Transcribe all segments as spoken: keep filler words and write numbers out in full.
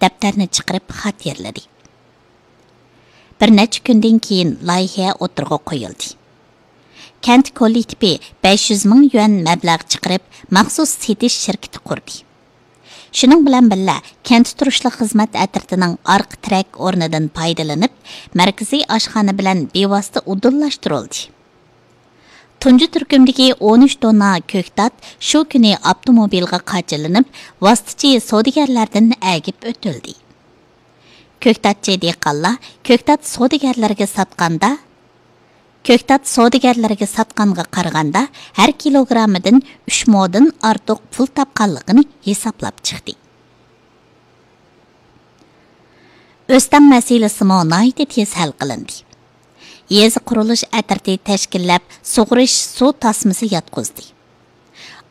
دەپتەرنى چىقىرىپ خاتىرىلىدى. بىر نەچچە كۈندىن كېيىن لايىھە ئوتتۇرىغا قويۇلدى. كەنت كوللېكتىپى بەش يۈز مىڭ يۈەن مەبلەغ چىقىرىپ، مەخسۇس سېتىش شىركىتى قۇردى. شۇنىڭ بىلەن بىللە، كەنت تۇرۇشلۇق خىزمەت ئەترىتىنىڭ ئارقا تىرەك ئورنىدىن پايدىلىنىپ، مەركىزىي ئاشخانا بىلەن بىۋاسىتە ئۇدۇللاشتۇرۇلدى. تۇنجى تۈركۈمدىكى ئون ئۈچ توننا كۆكتات شۇ كۈنى ئاپتوموبىلغا قاچىلىنىپ، ۋاسىتىچى سودىگەرلەردىن ئەگىپ ئۆتۈلدى. كۆكتاتچى دېھقانلار كۆكتات سودىگەرلىرىگە ساتقاندا، كۆكتات سودىگەرلىرىگە ساتقانغا قارىغاندا، ھەر كىلوگراممىدىن ئۈچ مودىن ئارتۇق پۇل تاپقانلىقىنى ھېسابلاپ چىقتى. ئۆستەڭ مەسىلىسىمۇ ناھايىتى تېز ھەل قىلىندى. يېزا قۇرۇلۇش ئەترىتى تەشكىللەپ، سۇغىرىش سۇ تاسمىسى ياتقۇزدى.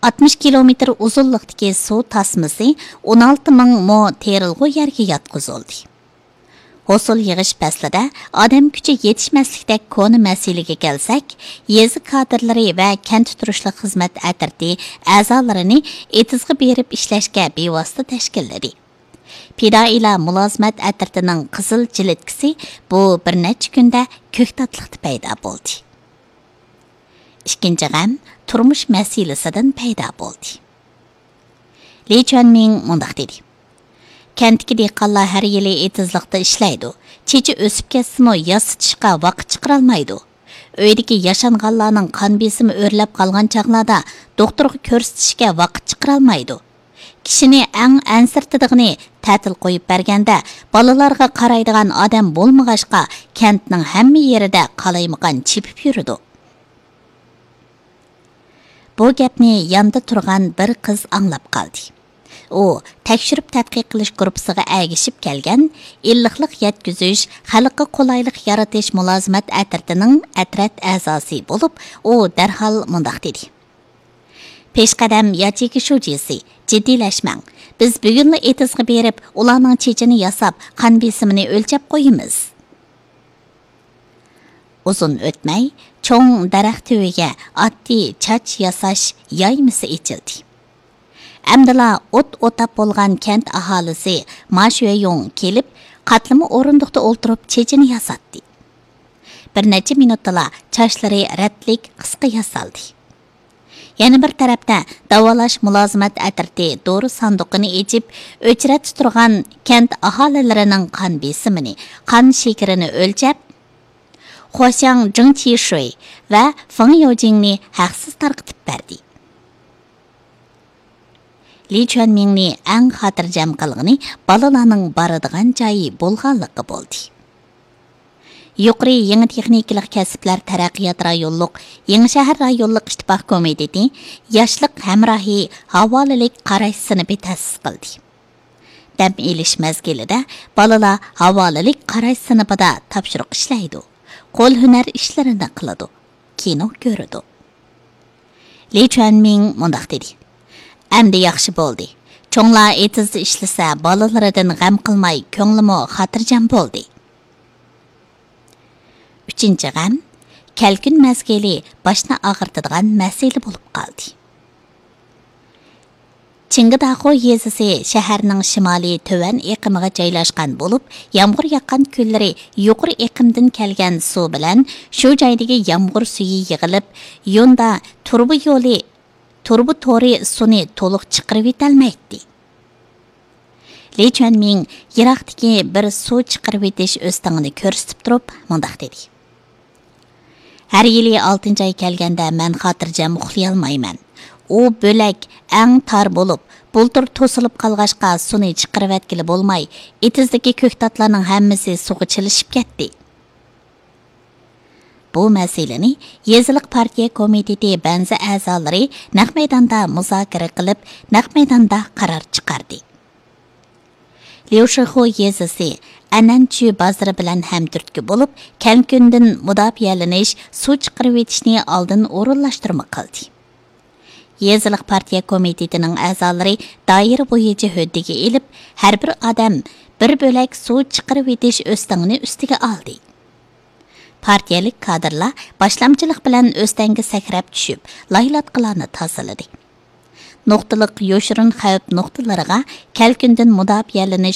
ئاتمىش كىلومېتىر ئۇزۇنلۇقتىكى سۇ تاسمىسى ئون ئالتە مىڭ مو تېرىلغۇ يەرگە ياتقۇزۇلدى. ھوسۇل يىغىش پەسلىدە ئادەم كۈچى يېتىشمەسلىكتەك كونا مەسىلىگە كەلسەك، يېزا كادىرلىرى ۋە كەنت تۇرۇشلۇق خىزمەت ئەترىتى ئەزالىرىنى ئېتىزغا بېرىپ ئىشلەشكە بىۋاسىتە تەشكىللىدى. پىدائىيلار مۇلازىمەت ئەترىتىنىڭ قىزىل جىلىتكىسى بۇ بىر نەچچە كۈندە كۆكتاتلىقتا پەيدا بولدى. ئىككىنچى غەم تۇرمۇش مەسىلىسىدىن پەيدا بولدى. لى چۈەنمىڭ مۇنداق دېدى: كەنتتىكى دېھقانلار ھەر يىلى ئېتىزلىقتا ئىشلەيدۇ. چېچى ئۆسۈپ كەتسىمۇ، ياسىتىشقا ۋاقىت چىقىرالمايدۇ. ئۆيدىكى ياشانغانلارنىڭ قان بېسىمى ئۆرلەپ قالغان چاغلاردا دوختۇرغا كۆرسىتىشكە ۋاقىت چىقىرالمايدۇ. كىشىنى ئەڭ ئەنسىرىتىدىغىنى، تەتىل قويۇپ بەرگەندە بالىلارغا قارايدىغان ئادەم بولمىغاچقا، كەنتنىڭ ھەممە يېرىدە قالايمىقان چېپىپ يۈرىدۇ. بۇ گەپنى ياندا تۇرغان بىر قىز ئاڭلاپ قالدى. ئۇ تەكشۈرۈپ تەتقىق قىلىش گۇرۇپپىسىغا ئەگىشىپ كەلگەن ئىللىقلىق يەتكۈزۈش، خەلققە قولايلىق يارىتىش مۇلازىمەت ئەترىتىنىڭ ئەترەت ئەزاسى بولۇپ، ئۇ دەرھال مۇنداق دېدى: پېشقەدەم ياچېيكا شۇجىسى، جىددىيلەشمەڭ. بىز بۈگۈنلا ئېتىزغا بېرىپ، ئۇلارنىڭ چېچىنى ياساپ، قان بېسىمىنى ئۆلچەپ قويىمىز. ئۇزۇن ئۆتمەي، چوڭ دەرەخ تۈۋىگە ئاددىي چاچ ياساش يايمىسى ئېچىلدى. ئەمدىلا ئوت ئوتاپ بولغان كەنت ئاھالىسى ما شۈەييۇڭ كېلىپ، قاتلىما ئورۇندۇقتا ئولتۇرۇپ چېچىنى ياساتتى. بىر نەچچە مىنۇتتىلا چاچلىرى رەتلىك قىسقا ياسالدى. يەنە بىر تەرەپتە، داۋالاش مۇلازىمەت ئەترىتى دورا ساندۇقىنى ئېچىپ، ئۆچرەتتە تۇرغان كەنت ئاھالىلىرىنىڭ قان بېسىمىنى، قان شېكىرىنى ئۆلچەپ، خۇاشياڭ جېڭ چىشۈي ۋە فېڭ يوجىڭنى ھەقسىز تارقىتىپ بەردى. لى چۈەنمىڭنى ئەڭ خاتىرجەم قىلغىنى بالىلارنىڭ بارىدىغان جايى بولغانلىقى بولدى. يۇقىرى يېڭى تېخنىكىلىق كەسىپلەر تەرەققىيات رايونلۇق يېڭى شەھەر رايونلۇق ئىتتىپاق كومىتېتى ياشلىق ھەمراھى ھاۋالىلىك قاراش سىنىپى تەسىس قىلدى. دەم ئېلىش مەزگىلىدە بالىلار ھاۋالىلىك قاراش سىنىپىدا تاپشۇرۇق ئىشلەيدۇ، قول ھۈنەر ئىشلىرىنى قىلىدۇ، كىنو كۆرىدۇ. لى چۈەنمىڭ مۇنداق دېدى: ئەمدى ياخشى بولدى. چوڭلار ئېتىزدا ئىشلىسە، بالىلىرىدىن غەم قىلماي، كۆڭلىمۇ خاتىرجەم بولدى. ئۈچىنچى غەم، كەلكۈن مەزگىلى باشنى ئاغرىتىدىغان مەسىلە بولۇپ قالدى. چىڭگىداخۇ يېزىسى شەھەرنىڭ شىمالىي تۆۋەن ئېقىمىغا جايلاشقان بولۇپ، يامغۇر ياغقان كۈنلىرى يۇقىرى ئېقىمدىن كەلگەن سۇ بىلەن شۇ جايدىكى يامغۇر سۈيى يىغىلىپ، يوندا تۇرۇبا يولى، تۇرۇبا تورى سۇنى تولۇق چىقىرىۋېتەلمەيتتى. لى چۈەنمىڭ يىراقتىكى بىر سۇ چىقىرىۋېتىش ئۆستىڭىنى كۆرسىتىپ تۇرۇپ مۇنداق دېدى: ھەر يىلى ئالتىنچى ئاي كەلگەندە مەن خاتىرجەم ئۇخلىيالمايمەن. ئۇ بۆلەك ئەڭ تار بولۇپ، بۇلتۇر توسۇلۇپ قالغاچقا سۇنى چىقىرىۋەتكىلى بولماي، ئېتىزدىكى كۆكتاتلارنىڭ ھەممىسى سۇغا چىلىشىپ كەتتى. بۇ مەسىلىنى يېزىلىق پارتىيە كومىتېتى بەنزى ئەزالىرى نەق مەيداندا مۇزاكىرە قىلىپ، نەق مەيداندا قارار چىقاردى. ليۇشىخۇ يېزىسى ئەنئەنچۈ بازىرى بىلەن ھەمتۈرتكە بولۇپ، كەلكۈندىن مۇداپىئەلىنىش، سۇ چىقىرىۋېتىشنى ئالدىن ئورۇنلاشتۇرما قىلدى. يېزىلىق پارتىيە كومىتېتىنىڭ ئەزالىرى دائىرە بويىچە ھۆددىگە ئېلىپ، ھەر بىر ئادەم بىر بۆلەك سۇ چىقىرىۋېتىش ئۆستىڭىنى ئۈستىگە ئالدى. پارتىيەلىك كادىرلار باشلامچىلىق بىلەن ئۆستەڭگە سەكرەپ چۈشۈپ، لايلاتقىلارنى تازىلىدى. نۇقتىلىق يوشۇرۇن خەۋپ نۇقتىلىرىغا كەلكۈندىن مۇداپىئەلىنىش